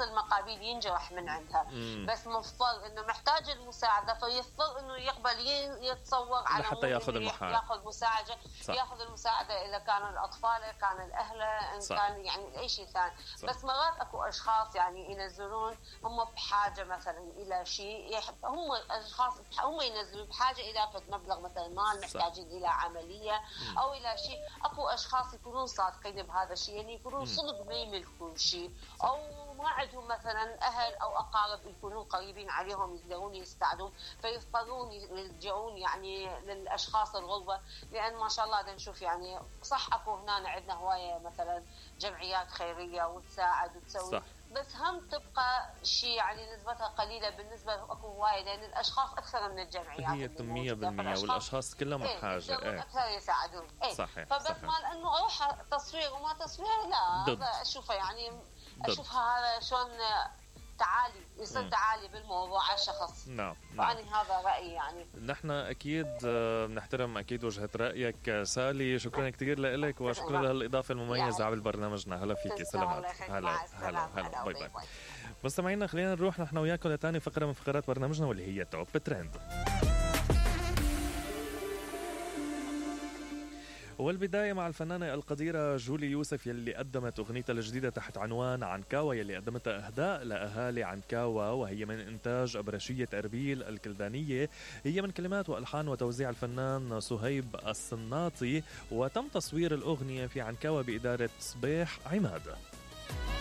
المقابيل ينجرح من عندها. بس مضطر انه محتاج المساعده، فيضطر انه يقبل يتصور على لحتى ياخذ ياخذ مساعده. ياخذ المساعده اذا كانوا الاطفال، كان الاهل، ان صح. كان يعني اي شيء ثاني. بس مرات اكو اشخاص يعني ينزلون هم بحاجه مثلا الى شيء، هم اشخاص هم ينزلون بحاجه الى مبلغ مثلا مال، محتاجين الى عمليه او الى شيء. اكو اشخاص يكونون صادقين بهذا الشيء، يعني يكونون صدق ما يملكون شيء، او ما عندهم مثلا اهل او اقارب يكونون قريبين عليهم يقدرون يساعدون، فيضطرون يلجؤون يعني للاشخاص الغربة. لان ما شاء الله نشوف يعني صح اكو هنا عندنا هوايه مثلا جمعيات خيريه وتساعد وتسوي صح. بس هم تبقى شيء يعني نسبتها قليله بالنسبه اكو هوايه، لان الاشخاص اكثر من الجمعيات هي 100% والاشخاص كلهم بحاجه اكثر يساعدون. صحيح. فبس صحيح. مال انه اروح تصوير وما تصوير لا، هذا اشوفه يعني اشوفها هذا شلون تعالي يصير تعالي بالموضوع على الشخص. نعم. يعني هذا رأيي. يعني نحن أكيد نحترم أكيد وجهة رأيك سالي. شكرا كثير لك وشكرا لهالإضافة المميزة على برنامجنا. هلا فيكي. سلامات. هلا باي باي. مستمعينا خلينا نروح نحن وياكم لتاني فقرة من فقرات برنامجنا واللي هي توب ترند. والبداية مع الفنانة القديرة جولي يوسف يلي قدمت أغنيتها الجديدة تحت عنوان عنكاوة، يلي قدمتها إهداء لأهالي عنكاوة، وهي من إنتاج أبرشية أربيل الكلدانية. هي من كلمات وألحان وتوزيع الفنان صهيب الصناطي، وتم تصوير الأغنية في عنكاوة بإدارة صبيح عماد.